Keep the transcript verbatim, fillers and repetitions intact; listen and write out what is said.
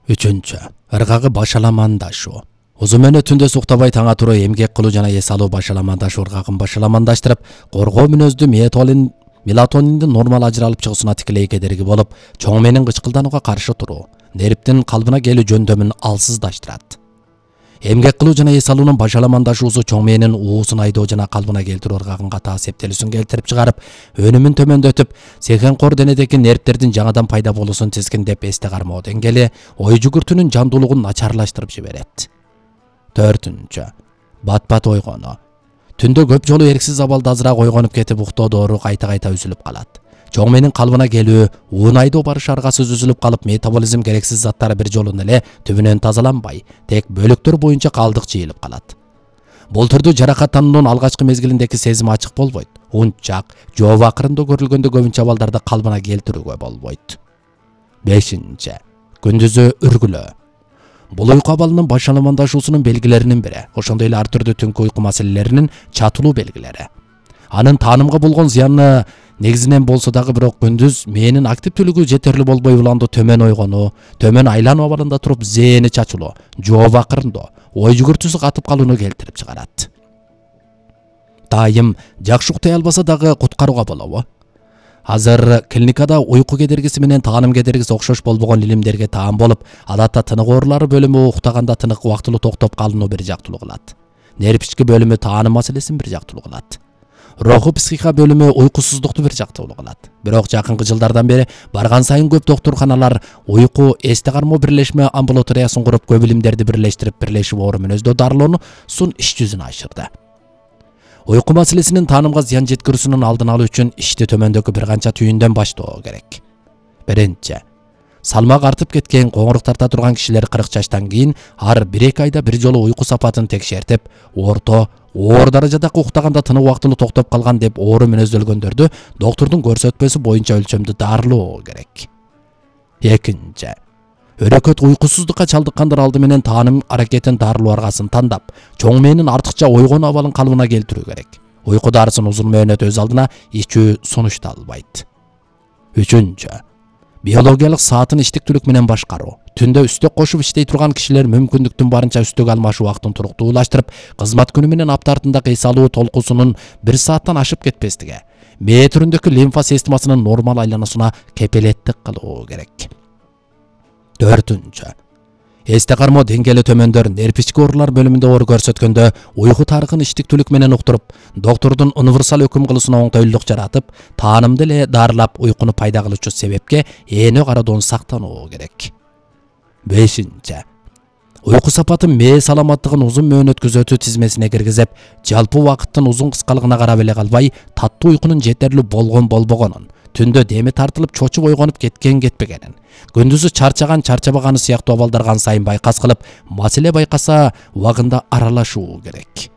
Үчүнчү. Ыргагы башаламандашуу. Узун мөөнөт түндө суктабай таңа туруу эмгек кылуу жана эс алуу башаламандашуу ыргагын башаламандаштырып, коргоо мүнөздүү мелатонин мелатониндин нормал ажыралып чыгуусуна тикелей кедерги болуп, чоң мээнин кычкылданууга каршы туруу, нервдин калыбына келүү жөндөмүн алсыздаштырат. Эмгек кылуу жана эс алуунун башаламандашуусу чоң мээнин уусун айдоо жана калыбына келтирүү ыргагын катаа септелүүсүн келтирип чыгарып, өнүмүн төмөндөтүп, сехенкор денедеги нервдердин жаңадан пайда болуусун тизгиндеп, эсте кармоо деңгээли, ой жүгүртүүнүн жандуулугун начарлаштырып жиберет. Төртүнчү. Бат-бат ойгонуу. Түндө көп жолу эрксиз абалда азыраак ойгонуп кетип, уктоо доору кайта-кайта үзүлүп калат. Чоң мээнин калыбына келүү, уун айдоо барышы аргасыз үзүлүп калып, метаболизм керексиз заттары бир жолу эле түбүнөн тазаланбай, тек бөлүктөр боюнча калдык жыйылып калат. Бул түрдүү жаракаттануунун алгачкы мезгилиндеги сезим ачык болбойт. Унчак, жоо акырында көрүлгөндө көбүнчө абалдарда калыбына келтирүүгө болбойт. Бешинчи. Күндүзү үргүлөө. Бул уйку абалынын башаламандашуусунун белгилеринин бири, ошондой эле ар түрдүү түнкү уйку маселелеринин чатылуу белгилери. Анын таанымга болгон зыяны негизинен болсо дагы бирок күндүз мээнин активдүүлүгү жетерлик болбой уланды төмөн ойгонуу, төмөн айлануу абалында туруп зээни чачылуу, жоо акырындоо, ой жүгүртүүсү катып калууну келтирип чыгарат. Дайым жакшы уктай албаса дагы куткарууга болобу? Азыр клиникада уйку кедергиси менен тааным кедергиси окшош болбогон илимдерге таан болуп, адатта тынык оорулары бөлүмү уктаганда тынык убактылуу токтоп калууну бир жактылуу кылат. Нерв ички бөлүмү тааным маселесин бир жактылуу кылат. Руху психика бөлүмү уйкусуздукту бир жактылуу кылат. Бирок жакынкы жылдардан бери барган сайын көп доктурканалар уйку эсте кармоо бирлешме амбулаториясын куруп, көп илимдерди бирлештирип, бирлешип оору мүнөздөө дарылоонусун иш жүзүнө ашырды. Уйку маселесинин таанымга зыян жеткирүүсүнүн алдын алуу үчүн ишти төмөндөгү бир канча түйүндөн баштоо керек. Биринчи. Салмак артып кеткен, коңурук тарта турган кишилер кырк жаштан кийин ар бир эки айда бир жолу уйку сапатын текшертип, орто, оор даражада уктаганда тынып убактылуу токтоп калган деп оору мүнөздөлгөндөрдү доктурдун көрсөтмөсү боюнча өлчөмдү дарылоо керек. Экинчи. Өрөкөт уйкусуздукка чалдыккандар алды менен тааным аракетин дарылоо аргасын тандап, чоң мээнин артыкча ойгонуу абалын калыбына келтирүү керек. Уйку дарысын узун мөөнөт өз алдына ичүү сунушталбайт. Үчүнчү. Биологиялык саатын иштиктүүлүк менен башкаруу. Түндө үстөк кошуп иштей турган кишилер мүмкүндүктүн барынча үстөк алмашуу убактын туруктуулаштырып, кызмат күнү менен апта артындагы эс алуу толкуусунун бир сааттан ашып кетпестиги, мээ түрүндөгү лимфа системасынын нормал айлануусуна кепилеттик кылуу керек. Төртүнчү. Эсте кармоо деңгээли төмөндөр нерв ички оорулар бөлүмүндө оор көрсөткөндө уйку тарыхын иштиктүүлүк менен уктуруп, доктурдун универсал өкүм кылуусуна оңтойлуулук жаратып, таанымды эле дарылап, уйкуну пайда кылуучу себепке ээнө кароодон сактануу керек. Бешинчи. Уйку сапатын мээ саламаттыгын узун мөөнөт күзөтүү тизмесине киргизип, жалпы убакыттын узун кыскалыгына карап эле калбай, таттуу уйкунун жетерлик болгон болбогонун, түндө деми тартылып чочуп ойгонуп кеткен кетпегенин, күндүзү чарчаган чарчабаганы сыяктуу абалдар кан сайын байкас кылып, маселе байкаса убагында аралашуу керек.